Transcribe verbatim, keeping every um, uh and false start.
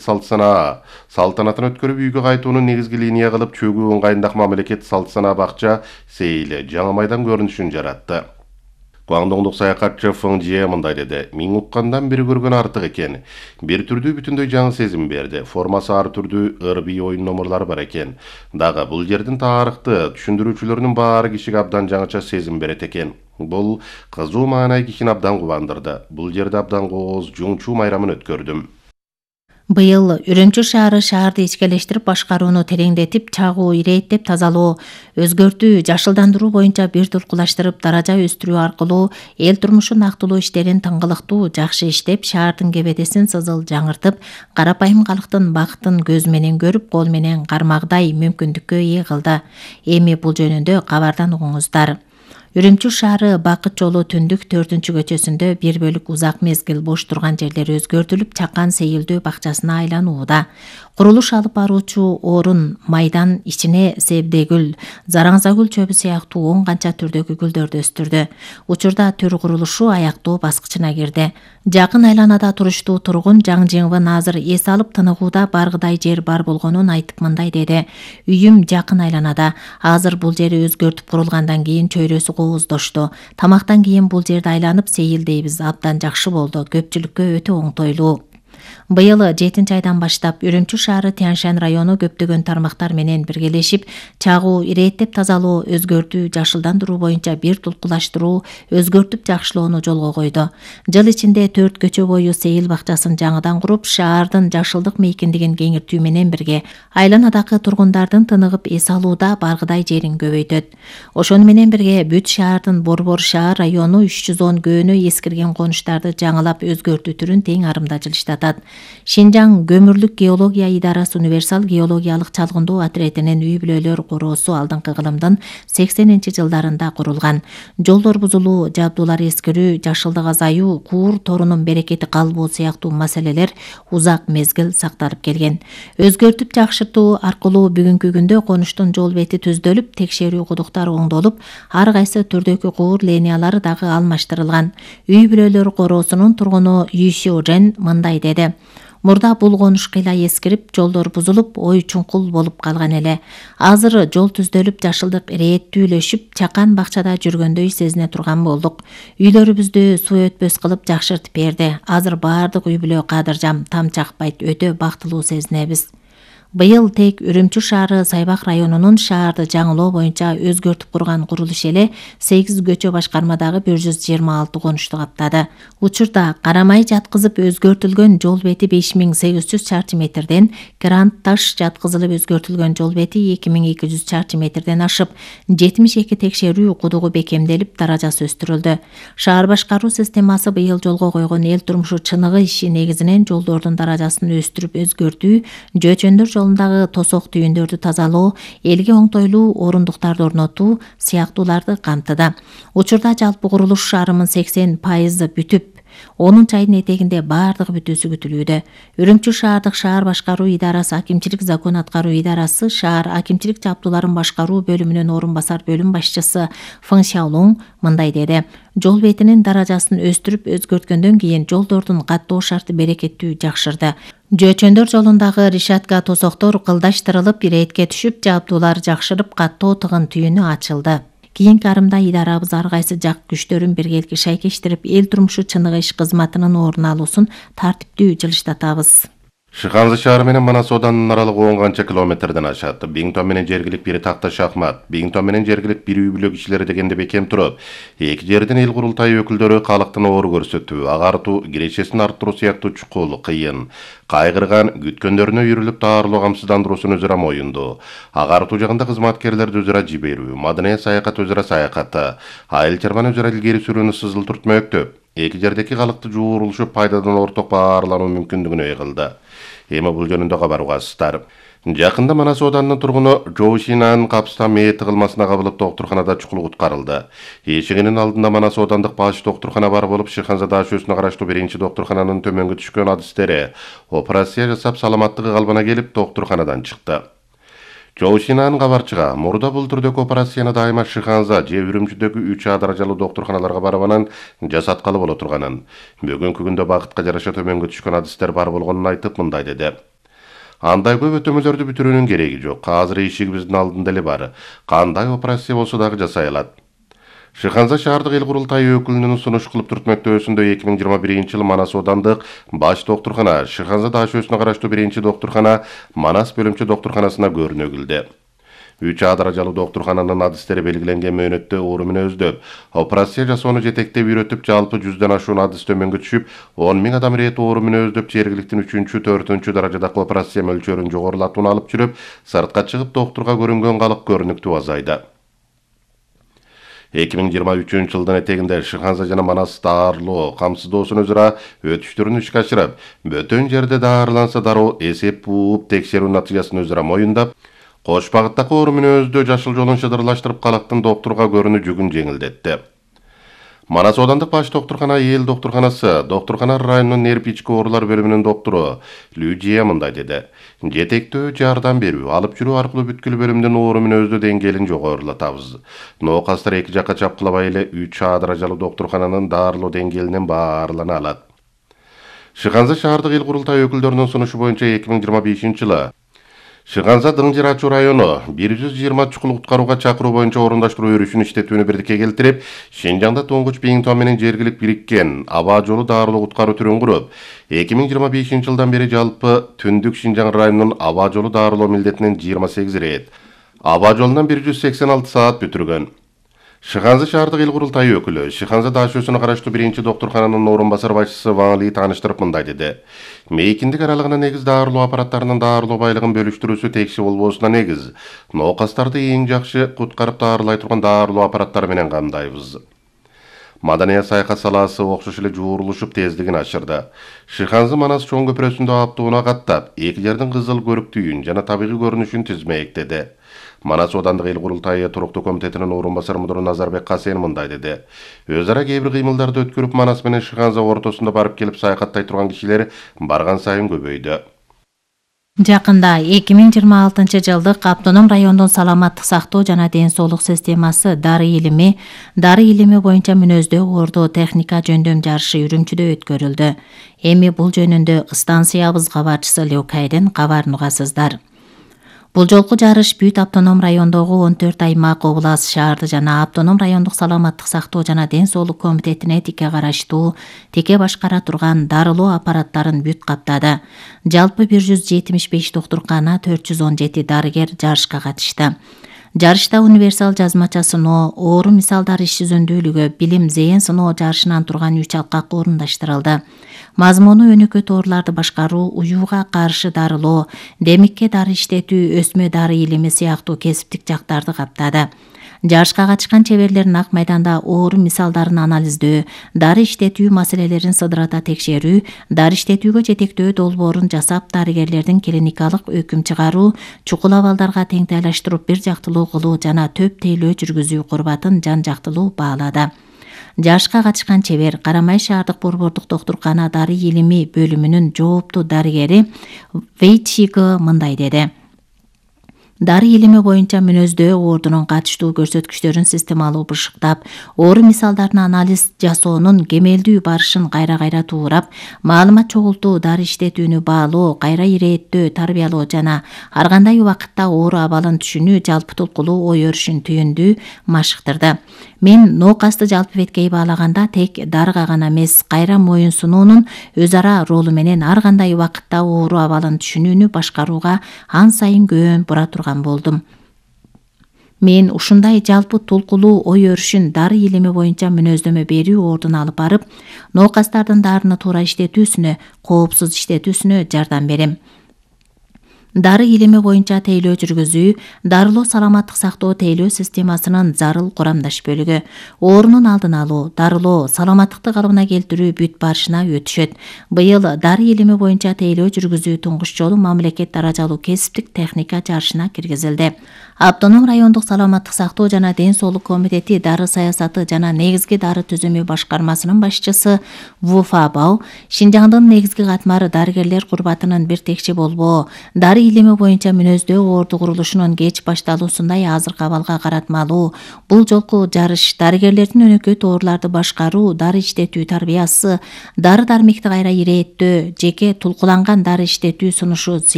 Салтсана салтанатын өткөрүп үйгө кайтуунун негизги линия кылып чөгүү ыңгайындагы мамлекет Салтсана бакча сейили жаңы майдан көрүнүшүн жаратты. Гуандоңдук саякатчы Фeng Jie мындай деди: "Миң уккандан бир көргөн артык экен. Бир түрдүү бүтүндөй жаңы сезим берди. Формасы ар түрдүү ыр-бий оюн номурлары бар экен. Дагы бул жердин тарыхты түшүндүрүүчүлөрүнүн баары кишиге абдан жаңыча сезим берет экен. Бул кызуу маанай кишини абдан кубандырды. Бул жерде абдан кооз жуңчу майрамын өткөрдүм." Быйыл Үрүмчү шаары шаарды ичкелештирип башкарууну тереңдетип, чагуу, ирээттеп тазалоо, өзгөртүү, жашылдандыруу боюнча бир тулкулаштырып, даража өстүрүү аркылуу эл турмушун актылоо иштерин тыңгылыктуу, жакшы иштеп, шаардын кебедесин сызыл жаңыртып, карапайым калктын бакытын көз менен көрүп, кол менен кармагдай мүмкүндүккө ээ кылды. Эми бул жөнүндө кабардан угуңуздар. Үрүмчү шаары Бакыт жолу түндүк төртүнчү көчөсүндө бир бөлүк узак мезгил бош турган жерлери өзгөртүлүп, Чакан сейилдөө бакчасына айланууда. Курулуш алып баруучу орун майдан ичине себдегүл, зараңзагүл чөбү сыяктуу он канча түрдөгү гүлдөрдү өстүрдү. Учурда төр курулушу аяктоо баскычына кирди. Жакын айланада туруштуу тургун Жаң Жиңвын азыр эс алып тыныгууда баргыдай жер бар болгонун айтып мындай деди: "Үйүм жакын айланада. Азыр бул жери өзгөртүп курулгандан кийин чөйрөсү кооздошту. Тамактан кийин бул жерди айланып сейилдейбиз. Абдан жакшы болду. Көпчүлүккө өтө оңтойлуу." Быйыл жетинчи айдан баштап Үрүмчү шаары Тянь-Шань району көптөгөн тармактар менен биргелешип, чагуу, ирээттеп тазалоо, өзгөртүү, жашылдандыруу боюнча бир тулкулаштыруу, өзгөртүп жакшылоону жолго койду. Жыл ичинде төрт көчө бою сейил бакчасын жаңыдан куруп, шаардын жашылдык мейкиндигин кеңиртүү менен бирге айланадагы тургундардын тыныгып эс алууда баргыдай жерин көбөйтөт. Ошону менен бирге бүт шаардын Борбор шаар району үч жүз он көөнө эскирген конуштарды жаңылап өзгөртүү түрүн тең арымда жылыштатат. Шинжаң көмүрлүк геология идарасы универсал геологиялык чалгындоо отрядынын үй-бүлөлөр короосу алдыңкы кылымдын сексенинчи жылдарында курулган. Жолдор бузулуу, жабдуулар эскирүү, жашылдык азаюу, куур торунун берекети калбоо сыяктуу маселелер узак мезгил сакталып келген. Өзгөртүп жакшыртуу аркылуу бүгүнкү күндө конуштун жол бети түздөлүп, текшерүү кудуктар оңдолуп, ар кайсы түрдөгү куур линиялары дагы алмаштырылган. Үй-бүлөлөр короосунун тургуну Үй Сюжен мындай деди: "Мурда бул конуш кыйла эскирип, жолдор бузулуп, ой чуңкул болуп калган эле. Азыр жол түздөлүп, жашылдык ирээттүүлөшүп, Чакан бакчада жүргөндөй сезине турган болдук. Үйлөрүбүздү суу өтпөс кылып жакшыртып берди. Азыр баардык үй-бүлө кадыржам, тамчакпайт, өтө бактылуу сезинебиз." Быйыл тек Үрүмчү шаары Сайбак районунун шаарды жаңылоо боюнча өзгөртүп курган курулуш эле сегиз көчө башкармадагы бир жүз жыйырма алты конушту каптады. Учурда карамай жаткызып өзгөртүлгөн жол бети беш миң сегиз жүз чарчы метрден, грант таш жаткызылып өзгөртүлгөн жол бети эки миң эки жүз чарчы метрден ашып, жетимиш эки текшерүү кудугу бекемделип, даражасы өстүрүлдү. Шаар башкаруу системасы быйыл жолго койгон эл турмушу чыныгы иши негизинен жолдордун даражасын өстүрүп өзгөртүү, жөөчөндөр жолундагы тосок түйүндөрдү тазалоо, элге оңтойлуу орундуктарды орнотуу сыяктууларды камтыды. Учурда жалпы курулуш шаарымын сексен пайызы бүтүп, онунчу айдын этегинде баардыгы бүтүүсү күтүлүүдө. Үрүмчү шаардык шаар башкаруу идарасы акимчилик закон аткаруу идарасы шаар акимчилик жабдууларын башкаруу бөлүмүнүн орун басар бөлүм башчысы Фeng Xiaolong мындай деди: "Жол бетинин даражасын өстүрүп өзгөрткөндөн кийин жолдордун каттоо шарты берекеттүү жакшырды. Жөөчөндөр жолундагы решетка тосоктор кылдаштырылып, ирээтке түшүп, жабдуулар жакшырып, каттоо тыгын түйүнү ачылды. Кийинки арымда идарабыз ар кайсы жак күчтөрүн биргеликке шайкештирип, эл турмушу чыныгы иш кызматынын орун алуусун тартиптүү жылыштатабыз." Шыханзы шаары менен Манас оданынын аралыгы он канча километрден ашат. Биңтон менен жергилик бир такта шахмат, Биңтон менен жергилик бир үй-бүлө кишилери дегенде бекем туруп, эки жердин эл курултайы өкүлдөрү калктын оор көрсөтүү, агартуу, кирешесин арттыруу сыяктуу чукул, кыйын, кайгырган, күткөндөрүнө үйрүлүп таарылуу камсыздандыруусун өзүрө моюнду. Агартуу жагында кызматкерлерди өзүрө жиберүү, маданий саякат өзүрө саякаты, айыл чарбаны өзүрө илгери сүрүүнү сызыл түртмөктөп, эки жердеки калкты жуурулушуп пайдадан орток баарлануу мүмкүндүгүнө ээ кылды. Эми бул жөнүндө кабар угасыздар. Жакында Манас оданынын тургуну Жоу Шинан капстан мээ тыгылмасына кабылып доктурканада чукул куткарылды. Эшигинин алдында Манас одандык баш доктуркана бар болуп, Шыханза дашөөсүнө караштуу биринчи доктуркананын төмөнгө түшкөн адистери операция жасап саламаттыгы калбана келип доктурканадан чыкты. Жоу Шинан кабарчыга мурда бул түрдөгү операцияны дайыма Шыханза же Үрүмчүдөгү үч А даражалуу доктурканаларга барып анан жасаткалы боло турганын, бүгүнкү күндө бакытка жараша төмөнгө түшкөн адистер бар болгонун айтып мындай деди: Андай көп өтөмөлөрдү бүтүрүүнүн кереги жок. Азыр ишигибиздин алдында эле бар. Кандай операция болсо дагы жасай алат. Шыханза шаардык эл курултайы өкүлүнүн сунуш кылып түртмөктөөсүндө эки миң жыйырма биринчи жылы Манас оодандык баш доктуркана, Шыханза ДАШөсүнө караштуу биринчи доктуркана Манас бөлүмчө доктурканасына көрүнөгүлдү. үч А даражалуу доктуркананын адистери белгиленген мөөнөттө оору менен өздөп, операция жасоону жетектеп үйрөтүп, жалпы жүздөн ашуун адис төмөнгө түшүп, он миң адам ирет оору менен өздөп, жергиликтин үчүнчү, төртүнчү даражадагы операция мөлчөрүн жогорулатууну алып жүрүп, сыртка чыгып доктурга көрүнгөн калык көрүнүктүү азайды. эки миң жыйырма үчүнчү жылдын этегинде Шыханза жана Манас даарылоо камсыздоосун өзара өтүштөрүн ишке ашырып, бөтөн жерде даарыланса дароо эсеп бууп, текшерүү натыйжасын өзара моюндап, кош багыттагы оору менен өздөө жашыл жолун шыдырлаштырып, калктын доктурга көрүүнү жүгүн жеңилдетти. Манас оодандык баш доктуркана эл доктурканасы, доктуркана районунун нерв ички оорулар бөлүмүнүн доктору Лүдия мындай деди. Жетектөө жардам берүү, алып жүрүү аркылуу бүткүл бөлүмдүн оору менен өздөө деңгээлин жогорулатабыз. Ноокастар эки жакка чапкылабай эле үч А даражалуу доктуркананын даарылоо деңгээлинен баарлана алат. Шыханза шаардык эл курултайы өкүлдөрүнүн сунушу боюнча эки миң жыйырма бешинчи жылы Шыханза Дыңжыр Ачуу району бир жүз жыйырма чукул куткарууга чакыруу боюнча орундаштыруу өрүшүн иштетүүнү бирдикке келтирип, Шинжаңда туңгуч Биңтон менен жергилик бириккен аба жолу даарылоо куткаруу түрүн куруп, эки миң жыйырма бешинчи жылдан бери жалпы Түндүк Шинжаң районунун аба жолу даарылоо милдетинен жыйырма сегиз рет, аба жолунан бир жүз сексен алты саат бүтүргөн. Шыханза шаардык эл курултайы өкүлү Шыханза ДАШөсүнө караштуу биринчи доктуркананын орун басар башчысы Ван Ли тааныштырып мындай деди. Мейкиндик аралыгына негиз даарылоо аппараттарынын даарылоо байлыгын бөлүштүрүүсү текши болбоосуна негиз. Ноокастарды эң жакшы куткарып даарылай турган даарылоо аппараттары менен камдайбыз. Маданий саякат салаасы окшош эле жуурулушуп тездигин ашырды. Шыханза Манас чоң көпүрөсүндө аптууна каттап, эки жердин кызыл көрүктүүн жана табигый көрүнүшүн тизмектеди. Манас оодандык эл курултайы туруктуу комитетинин орун басары мудуру Назарбек Касен мындай деди. Өз ара кээ бир кыймылдарды өткөрүп, Манас менен Шыханза ортосунда барып келип саякаттай турган кишилер барган сайын көбөйдү. Жакында эки миң жыйырма алтынчы жылдык автоном райондун саламаттык сактоо жана ден соолук системасы дары илими, дары илими боюнча мүнөздүү ордо техника жөндөм жарышы Үрүмчүдө өткөрүлдү. Эми бул жөнүндө станциябыз кабарчысы Леокайден кабарын угасыздар. Бул жолку жарыш бүт автоном райондогу он төрт аймак, област, шаарды жана автоном райондук саламаттык сактоо жана ден соолук комитетине тике караштуу, тике башкара турган дарылоо аппараттарын бүт каптады. Жалпы бир жүз жетимиш беш доктуркана, төрт жүз он жети дарыгер жарышка катышты. Жарышта универсал жазмача сыноо, оору мисалдар иш жүзүндүүлүгү, билим, зээн сыноо жарышынан турган үч алкак орундаштырылды. Мазмуну өнөкөт ооруларды башкаруу, уюуга каршы дарылоо, демикке дары иштетүү, өсмө дары илими сыяктуу кесиптик жактарды каптады. Жарышка катышкан чеберлер нак майданда оору мисалдарын анализдөө, дары иштетүү маселелерин сыдырата текшерүү, дары иштетүүгө жетектөө долбоорун жасап, дарыгерлердин клиникалык өкүм чыгаруу, чукул абалдарга теңтайлаштырып бир жактылуу кылуу жана төп тейлөө жүргүзүү курбатын жан жактылуу баалады. Жарышка катышкан чебер Карамай шаардык борбордук доктуркана дары илими бөлүмүнүн жооптуу дарыгери Вейтшига мындай деди. Дары илими боюнча мүнөздөө оордунун катыштуу көрсөткүчтөрүн системалуу бышыктап, оору мисалдарын анализ жасоонун кемелдүү барышын кайра-кайра туурап, маалымат чогултуу, дары иштетүүнү баалоо, кайра ирээттөө, тарбиялоо жана ар кандай убакытта оору абалын түшүнүү жалпы толкулуу ой өрүшүн түйүндүү машыктырды. Мен ноокасты жалпы беткей баалаганда тек дарыга гана эмес, кайра моюн сунуунун өз ара ролу менен ар кандай убакытта оору абалын түшүнүүнү башкарууга ан сайын көөн бура турган болдум. Мен ушундай жалпы толкулуу ой өрүшүн дары илими боюнча мүнөздөмө берүү ордун алып барып, ноокастардын дарыны туура иштетүүсүнө, коопсуз иштетүүсүнө жардам берем. Дары илими боюнча тейлөө жүргүзүү, дарылоо саламаттык сактоо тейлөө системасынын зарыл курамдаш бөлүгү. Оорунун алдын алуу, дарылоо, саламаттыкты калыбына келтирүү бүт барышына өтүшөт. Быйыл дары илими боюнча тейлөө жүргүзүү туңгуч жолу мамлекет даражалуу кесиптик техника жарышына киргизилди. Автоном райондук саламаттык сактоо жана ден соолук комитети дары саясаты жана негизги дары түзүмү башкармасынын башчысы Вуфа Бау, Шинжаңдын негизги катмары дарыгерлер курбатынын бир текче болбоо, дары илими боюнча мүнөздөө орду курулушунун кеч башталуусундай азыркы абалга каратмалуу. Бул жолку жарыш дарыгерлердин өнөкөт ооруларды башкаруу, дары иштетүү тарбиясы, дары дармекти кайра ирээттөө, жеке тулкуланган дары иштетүү сунушу